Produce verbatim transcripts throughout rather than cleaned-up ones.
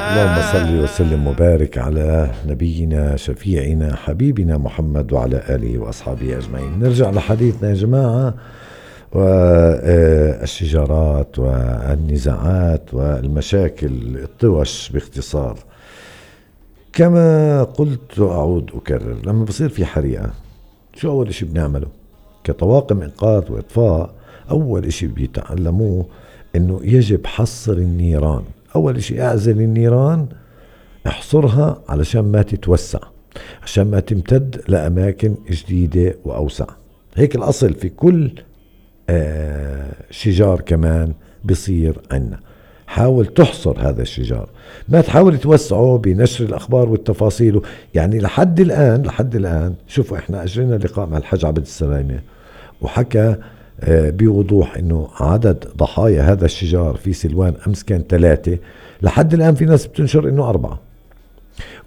اللهم صل وسلم وبارك على نبينا شفيعنا حبيبنا محمد وعلى آله وأصحابه أجمعين. نرجع لحديثنا يا جماعة، والشجارات والنزاعات والمشاكل الطوش باختصار. كما قلت وأعود أكرر، لما بصير في حريقة شو أول إشي بنعمله كطواقم إنقاذ وإطفاء؟ أول إشي بيتعلموه إنه يجب حصر النيران. أول إشي اعزل النيران، احصرها علشان ما تتوسع، عشان ما تمتد لأماكن جديدة وأوسع. هيك الأصل في كل آه شجار كمان بصير عنا. حاول تحصر هذا الشجار، ما تحاول توسعه بنشر الأخبار والتفاصيل. يعني لحد الآن لحد الآن شوفوا، إحنا أجرينا لقاء مع الحاج عبد السلامة وحكى بوضوح انه عدد ضحايا هذا الشجار في سلوان امس كان ثلاثة. لحد الان في ناس بتنشر انه اربعة،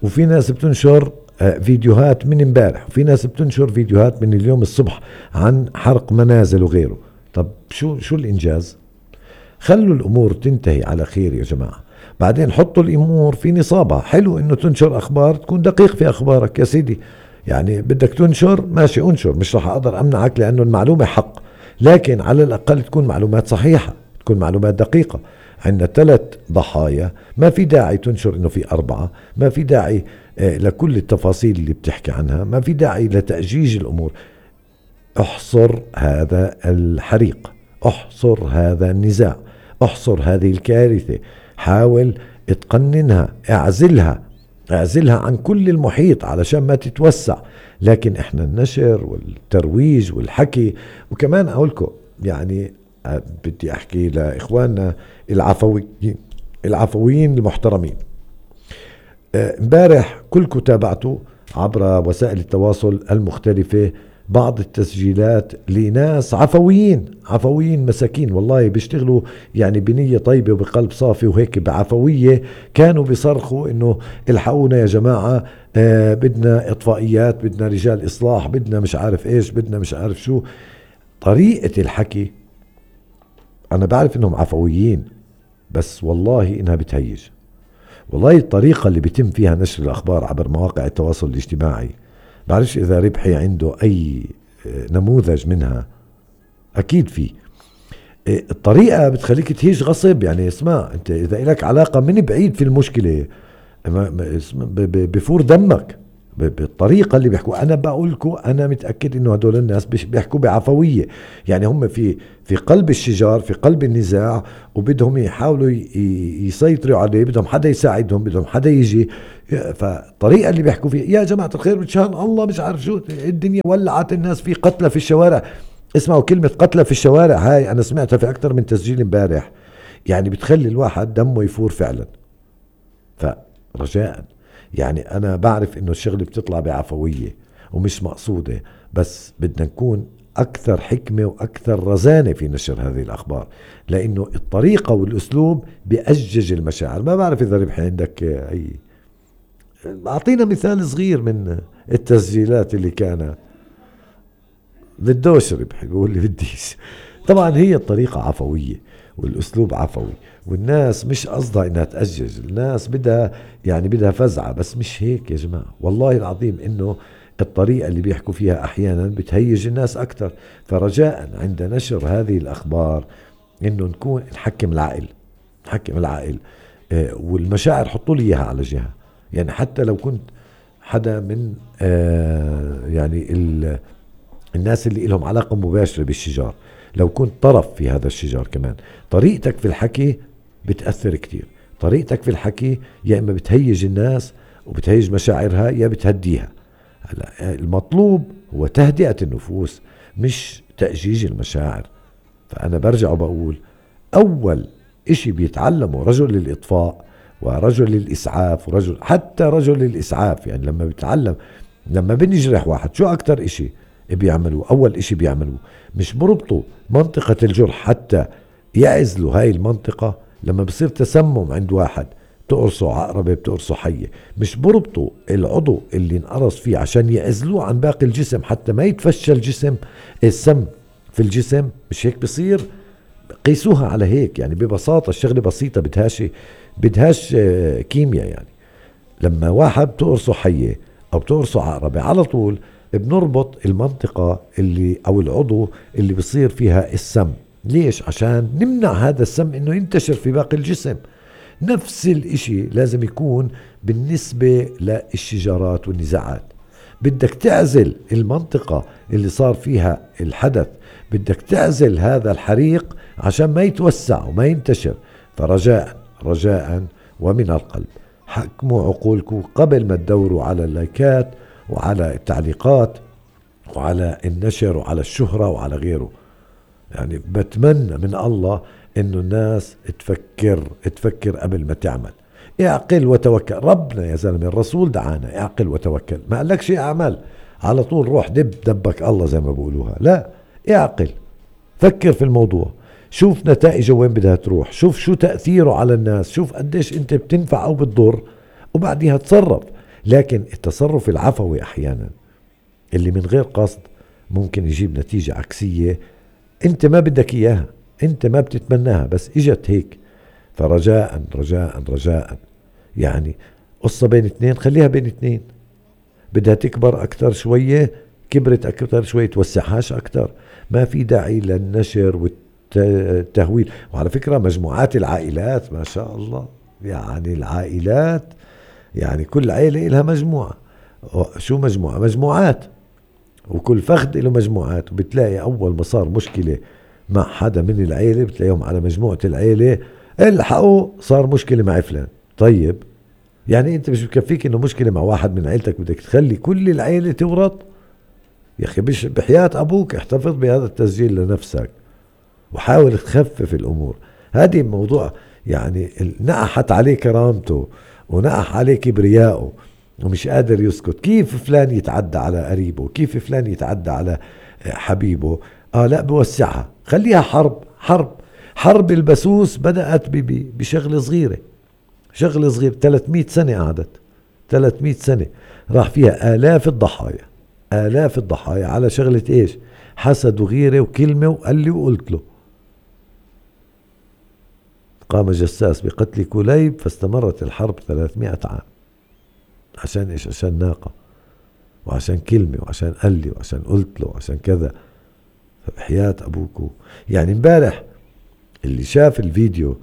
وفي ناس بتنشر فيديوهات من امبارح، وفي ناس بتنشر فيديوهات من اليوم الصبح عن حرق منازل وغيره. طب شو شو الانجاز؟ خلوا الامور تنتهي على خير يا جماعة، بعدين حطوا الامور في نصابها. حلو انه تنشر اخبار، تكون دقيق في اخبارك يا سيدي. يعني بدك تنشر ماشي انشر، مش رح اقدر امنعك لانه المعلومة حق، لكن على الأقل تكون معلومات صحيحة، تكون معلومات دقيقة. عندنا ثلاث ضحايا، ما في داعي تنشر إنه في أربعة، ما في داعي لكل التفاصيل اللي بتحكي عنها، ما في داعي لتأجيج الأمور. احصر هذا الحريق، احصر هذا النزاع، احصر هذه الكارثة، حاول تقننها، اعزلها اعزلها عن كل المحيط علشان ما تتوسع. لكن احنا النشر والترويج والحكي. وكمان اقولكم يعني بدي احكي لاخواننا العفويين العفويين المحترمين. امبارح كلكم تابعتوا عبر وسائل التواصل المختلفة بعض التسجيلات لناس عفويين عفويين مساكين، والله بيشتغلوا يعني بنية طيبة وبقلب صافي وهيك بعفوية، كانوا بيصرخوا انه الحقونا يا جماعة، آه بدنا اطفائيات، بدنا رجال اصلاح، بدنا مش عارف ايش، بدنا مش عارف شو. طريقة الحكي انا بعرف انهم عفويين، بس والله انها بتهيج. والله الطريقة اللي بيتم فيها نشر الاخبار عبر مواقع التواصل الاجتماعي، بعرفش إذا ربحي عنده أي نموذج منها، أكيد في. الطريقة بتخليك تهيج غصب. يعني اسمع، أنت إذا إلك علاقة من بعيد في المشكلة بفور دمك بالطريقة اللي بيحكوا. أنا بقولكم أنا متأكد إنه هدول الناس بيحكوا بعفوية، يعني هم في في قلب الشجار، في قلب النزاع، وبدهم يحاولوا يسيطروا عليه، بدهم حدا يساعدهم، بدهم حدا يجي. فالطريقة اللي بيحكوا فيها يا جماعة الخير بتشان الله مش عارف شو، الدنيا ولعت، الناس في قتلى في الشوارع. اسمعوا كلمة قتلى في الشوارع، هاي أنا سمعتها في أكتر من تسجيل امبارح، يعني بتخلي الواحد دمه يفور فعلا. فرجاء يعني أنا بعرف إنه الشغل بتطلع بعفوية ومش مقصودة، بس بدنا نكون أكثر حكمة وأكثر رزانة في نشر هذه الأخبار، لأنه الطريقة والأسلوب بيأجج المشاعر. ما بعرف إذا ربح عندك أي، أعطينا مثال صغير من التسجيلات اللي كان بدوش ربح يقول لي بديش. طبعا هي الطريقة عفوية والأسلوب عفوي، والناس مش قصدها إنها تأجج، الناس بدها يعني بدها فزعة، بس مش هيك يا جماعة. والله العظيم إنه الطريقة اللي بيحكوا فيها أحيانا بتهيج الناس أكتر. فرجاء عند نشر هذه الأخبار إنه نكون نحكم العقل، نحكم العقل آه والمشاعر. حطوا لي إياها على جهة، يعني حتى لو كنت حدا من آه يعني الناس اللي لهم علاقة مباشرة بالشجار، لو كنت طرف في هذا الشجار كمان، طريقتك في الحكي بتأثر كتير. طريقتك في الحكي يا إما بتهيج الناس وبتهيج مشاعرها، يا بتهديها. المطلوب هو تهدئة النفوس مش تأجيج المشاعر. فأنا برجع وبقول أول إشي بيتعلمه رجل الإطفاء ورجل الإسعاف ورجل حتى رجل الإسعاف، يعني لما بيتعلم، لما بنجرح واحد شو أكتر إشي بيعملوا؟ أول إشي بيعملوا مش بربطوا منطقة الجرح حتى يعزلوا هاي المنطقة. لما بصير تسمم عند واحد بتقرصه عقربة، بتقرصه حية، مش بربطوا العضو اللي انقرص فيه عشان يعزلوه عن باقي الجسم حتى ما يتفشى الجسم السم في الجسم. مش هيك بصير؟ قيسوها على هيك يعني. ببساطة الشغلة بسيطة، بدهاش بدهاش كيمياء يعني. لما واحد بتقرصه حية أو بتقرصه عقربة، على طول بنربط المنطقة اللي أو العضو اللي بصير فيها السم. ليش؟ عشان نمنع هذا السم إنه ينتشر في باقي الجسم. نفس الاشي لازم يكون بالنسبة للشجارات والنزاعات. بدك تعزل المنطقة اللي صار فيها الحدث، بدك تعزل هذا الحريق عشان ما يتوسع وما ينتشر. فرجاء رجاء ومن القلب حكموا عقولكم قبل ما تدوروا على اللايكات وعلى التعليقات وعلى النشر وعلى الشهرة وعلى غيره. يعني بتمنى من الله انه الناس تفكر تفكر قبل ما تعمل. اعقل وتوكل. ربنا يا زلمة الرسول دعانا اعقل وتوكل، ما قالك شيء اعمل على طول روح دب دبك الله زي ما بقولوها. لا، اعقل، فكر في الموضوع، شوف نتائجه وين بدها تروح، شوف شو تأثيره على الناس، شوف قديش انت بتنفع او بتضر، وبعديها تصرف. لكن التصرف العفوي احيانا اللي من غير قصد ممكن يجيب نتيجة عكسية انت ما بدك اياها، انت ما بتتمناها، بس اجت هيك. فرجاء رجاء رجاء يعني قصة بين اثنين خليها بين اثنين. بدها تكبر اكتر شوية، كبرت اكتر شوية، توسعهاش اكتر. ما في داعي للنشر والتهويل. وعلى فكرة مجموعات العائلات ما شاء الله، يعني العائلات يعني كل عائلة لها مجموعة. شو مجموعة؟ مجموعات، وكل فخد له مجموعات. وبتلاقي اول ما صار مشكلة مع حدا من العيلة بتلاقيهم على مجموعة العيلة الحقوا صار مشكلة مع فلان. طيب يعني انت مش بكفيك انه مشكلة مع واحد من عيلتك بدك تخلي كل العيلة تورط؟ يا اخي بش بحياة ابوك احتفظ بهذا التسجيل لنفسك وحاول تخفف الامور. هذه موضوع يعني نقحت عليه كرامته ونقح عليه كبرياءه ومش قادر يسكت. كيف فلان يتعدى على قريبه، كيف فلان يتعدى على حبيبه. اه لا، بوسعها، خليها حرب. حرب حرب البسوس بدأت بشغلة صغيرة، شغلة صغيرة ثلاثمئة سنة قعدت، ثلاثمئة سنة راح فيها آلاف الضحايا، آلاف الضحايا على شغلة ايش؟ حسد وغيرة وكلمة وقال لي وقلت له. قام جساس بقتل كليب فاستمرت الحرب ثلاثمئة عام. عشان ايش؟ عشان ناقة، وعشان كلمة، وعشان قال لي، وعشان قلت له، وعشان كذا. فبحياة ابوكو يعني امبارح اللي شاف الفيديو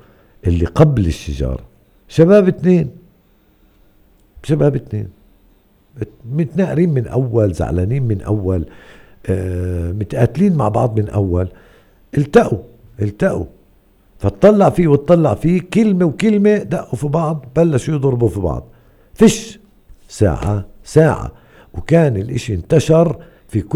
اللي قبل الشجار، شباب اتنين شباب اتنين متناقرين من اول، زعلانين من اول، آه متقاتلين مع بعض من اول، التقوا التقوا فتطلع فيه وتطلع فيه، كلمة وكلمة دقوا في بعض، بلشوا يضربوا في بعض. فش ساعة ساعة وكان الاشي انتشر في كل